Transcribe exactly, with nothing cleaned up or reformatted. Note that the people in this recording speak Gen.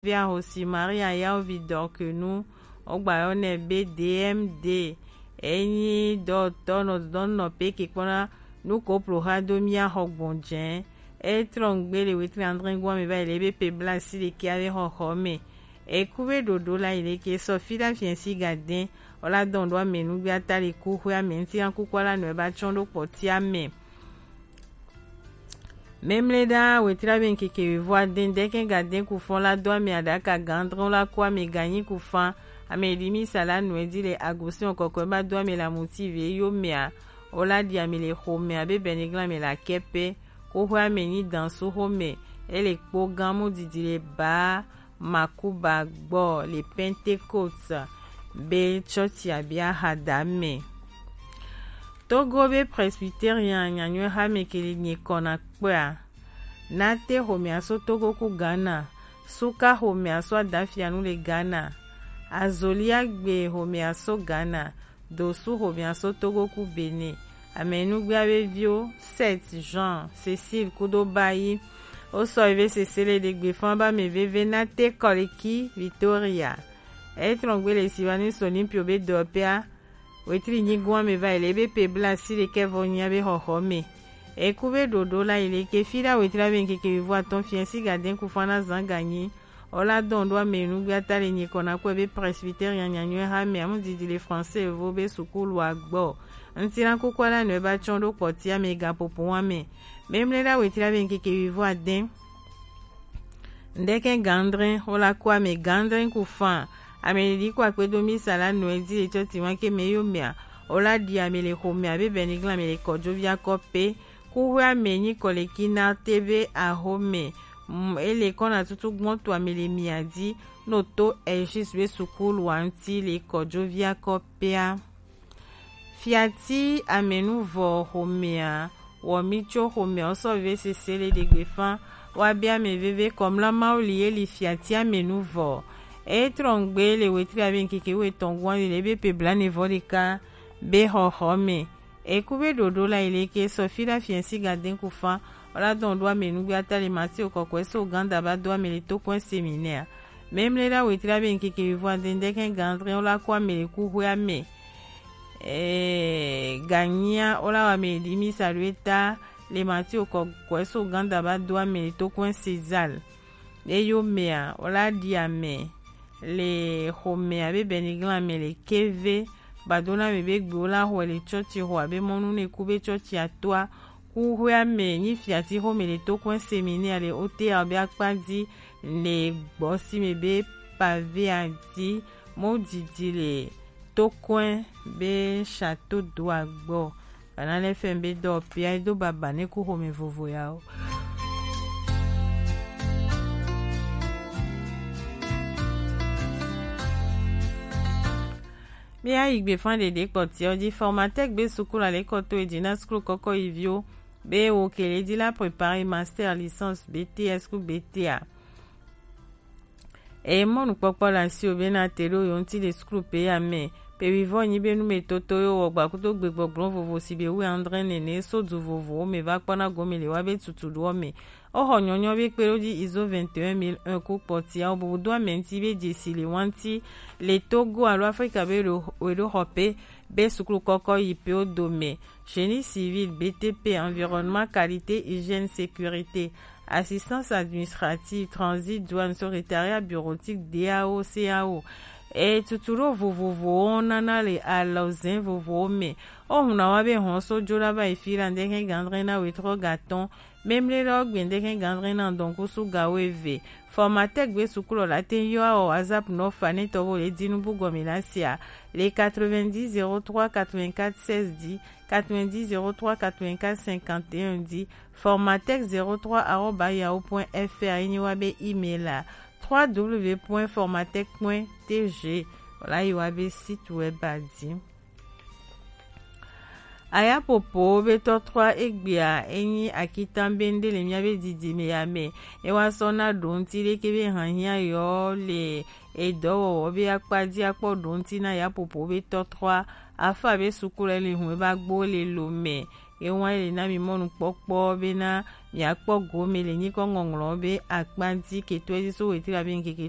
Via Rosi Maria Yaovi Dorkenu, ogba yɔ nɛ be D M D. Enyi dɔtɔ nɔ dɔn nɔ pe ke kpɔna nu ko plo ha do mia xɔ gbɔn jɛ. E trɔ ngbe le wetri andre gua me va yi le be pe bla si le ke ave xɔxɔ me. E ku be ɖoɖo la yi le ke sɔ fi da fiɛ si ga dɛn. O la dɔn ɖo ame nugbe ata le ku xwe ame ŋuti na kukua la nɔ e ba tsɔn ɖo kpɔtia me. Memle ɖa wetri abe ŋkeke wivɔ adɛn dɛkɛ ga dɛn ku fɔn la do ame aɖaka gandrɔn la ku ame ganyi ku fan ame ɖi mi sa la nɔe di le agosin kɔkɔe ba do ame la muti ve yo mea o la ɖi ame le xo mea be bɛniglan ame la kɛpe ku xwe ame nyi dan su xo me e le kpo gan mu didi le ba Makuba gbɔ le Pentecôte be tsɔtsia be ahada me. Togo be Presbyterian nyanyɔe hame ke le nyikɔ na kpɔa. Nate xomea so Togo ku Ghana, Suka xomea so Adafianu le Ghana, Azoliagbe xomea so Ghana, Dosu xomea so Togo ku Benin. Amenugbe abe vio Seth, Jean, Cécile kudo Bayi. O sɔ eve sese le ɖegbe fan ba me veve na te kɔleki Victoria. Etrɔn gbe le si va ni so ni pio be dɔpea. Wetri nyigun ame va yi le be pe bla si le kɛvɔ nya be xɔxɔ me. Eku be ɖoɖo la yi le ke fi ɖa wetri abe ŋkeke wivɔ atɔn fiɛ si gadɛn ku fan na zan ganyi. Ola dɔn ɖo ame nugbe ata le nyikɔ na kɔe be Presbyterian nyanyɔe ha me amu didi le français evo be sukulu agbɔ. Ŋti na kukua la nɔe ba tsɔn ɖo kpɔtia me ga popo wa me. Memle ɖa wetri abe ŋkeke wivɔ adɛn. Ŋdɛkɛ gandrɛn ola kɔ ame gandrɛn ku fan. Ame ɖiɖi kɔ akpe do misa la nɔe di le tsɔti wa ke me yo mea. Ola ɖi ame le xo me abe bɛniglan ame le kɔdzo via kɔ pe. Kuxwe ame nyi kɔleki na te be axome. Mm, ele kɔna tutu gbɔn to ame le mia di no to Elgis be sukulu wa ŋti le kɔdzo via kɔ pea. Fiati amenuvɔ xomea wɔ mi tso xomea wosɔ ve sese le ɖegbe fan wa be ame veve kɔmla mawu li ye li fiati amenuvɔ. Etrɔn gbe le wetri abe ŋkeke wetɔn guan le be pe blanevɔ ɖeka be xɔxɔ me. Eku be ɖoɖo la yi le ke sɔ fi ɖa fiɛ si gadɛn ku fan. Ola dɔn ɖo ame nugbe ata le Mateo kɔkɔe so ganda ba do ame le to kɔn seminɛa. Memle ɖa wetri abe ŋkeke wivɔ adɛn dɛkɛ gandrɛn ola kɔ ame le kuxwe ame. Ee, ganyia ola wa ame ɖi misa ɖo eta le Mateo kɔkɔe so ganda ba do ame le to kɔn César. Eyo mea ola ɖi ame le xomea be bɛniglan ame le keve badona me be gbe ola xɔ le tsɔtsi xɔ abe mɔnu ne ku be tsɔtsi atoa. Kuxwe ame nyi fiati xome le to kɔn seminɛa le otea be akpa di le gbɔ si me be pavea di mo didi le to kɔn be château d'eau agbɔ. Bana lɛ fɛn be dɔ pia do baba ne ku xome vovo ya o. Mía yi gbe fan ɖeɖe kpɔtiɔ dzi Formatec be sukulu alekɔto e dzi na sukulu kɔkɔ yi viwo be wo ke le dzi la préparer master, licence, B T S ku B T A. Eye mɔnukpɔkpɔ le asiwò be nate ɖo yewo ŋuti le sukulu pe ya me. Pe wivɔ nyi be numetoto yewo wɔ gba kudo gbegbɔgblɔ vovo si be wu andre nene so du vovowo me va kpɔna gome le wa be tutu ɖoɔ me. Oxɔ nyɔnyɔ be kpe ɖo dzi izo vingt et un mille un ku kpɔtia wo bubu do ame ŋuti be dzesi le wa ŋuti le Togo alo Afrika be ɖo we ɖo xɔ pe be sukulu kɔkɔ yi pe wo dome. Génie civil, B T P, environnement, qualité, hygiène, sécurité, assistance administrative, transit, douane, secrétariat bureautique, D A O, C A O. E tutu ɖo vovovowo nana le alɔzɛn vovowo me. O huna wa be hɔn so jo la va yi fi la ŋdɛkɛ gandrɛ na wetrɔ gatɔn. Memle la o gbe ŋdɛkɛ gandrɛ na dɔnku su ga wo eve. Formatec gbe sukulu la te yɔ awɔ WhatsApp nɔ fa ne tɔvo le dinu bu gɔmi la sia le quatre-vingt-dix zéro trois quatre-vingt-quatre seize dix, quatre-vingt-dix zéro trois quatre-vingt-quatre cinquante et un dix, formatec zéro trois arobase yahoo point F R, enyi wa be email la trois W point formatec point T G, wala yi wa be site web a di. Ayapopo be tɔtrɔa egbea enyi akitan be ŋɖe le mía be didime ya me. E wa sɔ na ɖo ŋuti ɖeke be hanhia yɔ le edɔwɔwɔ be akpa dzi akpɔ ɖo ŋuti na yapopo be tɔtrɔa. Afa be sukulu le hun e ba gbo le lo me. Ewa ele na mi mɔnukpɔkpɔ bena miakpɔ gome le nyikɔ ŋɔŋlɔ be akpanti ketɔ ezi so wetri abi nkeke